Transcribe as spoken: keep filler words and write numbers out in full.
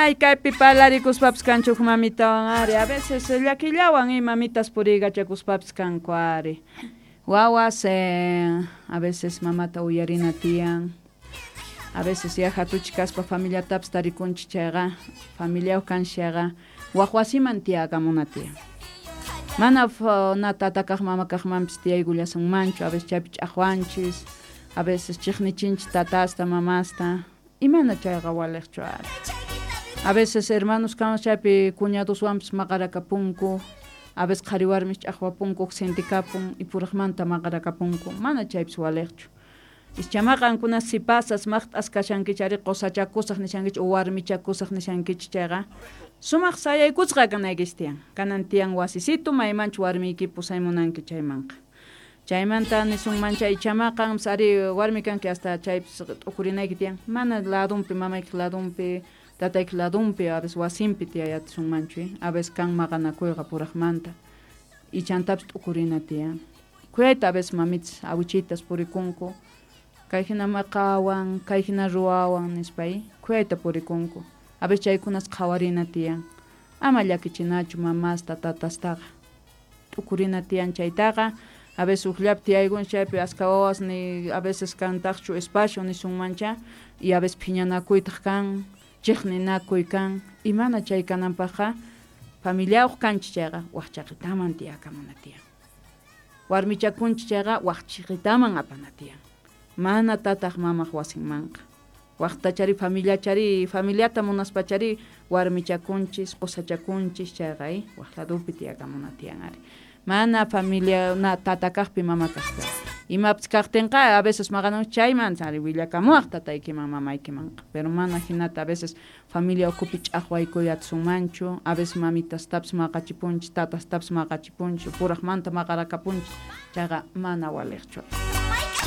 Ay, kaypi parlarikuspapis kanchu huk mamitawan ari, a veces llakillawan y mamitas puriykachakuspapis kanku ari. Wawas eh, a veces mamata uyarina tiyan. A veces ya hatuchi kaspa familiatapis tarikunchik chayqa, familiayuq kanchik chayqa, wak wasiman tiyakamuna tiyan. Mana na tata kaq mama kaqmanpis tiyaykullasunmanchu, a veces chaypi ch'aqwanchis, a veces chiqnichinchik tatasta, mamasta, imana chayqa waliqchu ari. A veces hermanos kan chaypi cuñadoswanpis maqarakapunku, a veces qhari warmis ch'aqwapunku, huk sintikapun y puraqmanta maqarakapunku, mana chaypis waliqchu. Ichamaqa qankuna sipasas maqt'as kashankichik ari qusachakusaq nishankichik o warmichakusaq nishankichik chayqa, sumaq sayaykusqa kanaykichik tiyan. Kanan tiyan wasisitu maymanchu warmiyki pusaymunanki chaymanqa. Chaymanta nisunman chay ichamaqa qanpis ari warmi kanki hasta chaypis t'ukurinayki tiyan, mana ladunpi mamaykiq ladunpi, tataykiq ladunpi a veces wasinpi tiyayatisunmanchu, a veces kan maqanakuyqa puraqmanta. Ichantapis t'ukurina tiyan. Khuyayta a veces mamitas, awichitas purikunku, kay hina maqawan, kay hina ruwawan nispa khuyayta purikunku. A veces chaykunas qhawarina tiyan. Ama llakichinachu mamasta, tatastaqa. T'ukurina tiyan chaytaqa, a veces hukllapi tiyaykunchik chaypi aska wawas ni a veces kantaqchu espacio nisunmancha, y a veces phiñanakuytaq kan, chiqninakuy kan, y mana chay kananpaqqa familiayuq kanchik chayqa wak chaqitaman tiyakamuna tiyan. Warmichakunchik chayqa wak chiqitaman apana tiyan. Mana tataq mamaq wasinmanqa. Waqtachari familiachari, familiata munaspachari warmichakunchis, qusachakunchis chayqa wak ladupi tiyakamuna tiyan ari. Mana familia na tata kaqpi mama kaqpi. Imapis kaqtinqa a veces maqanakunchik chayman ari willakamuwaq tataykiman mamaykimanqa. Pero mana hinata a veces familia ukhupi ch'aqwaykuy atisunmanchu, a veces mamitastapis maqachipunchik, tatastapis maqachipunchik, puraqmanta maqarakapunchik, chayqa mana waliqchu.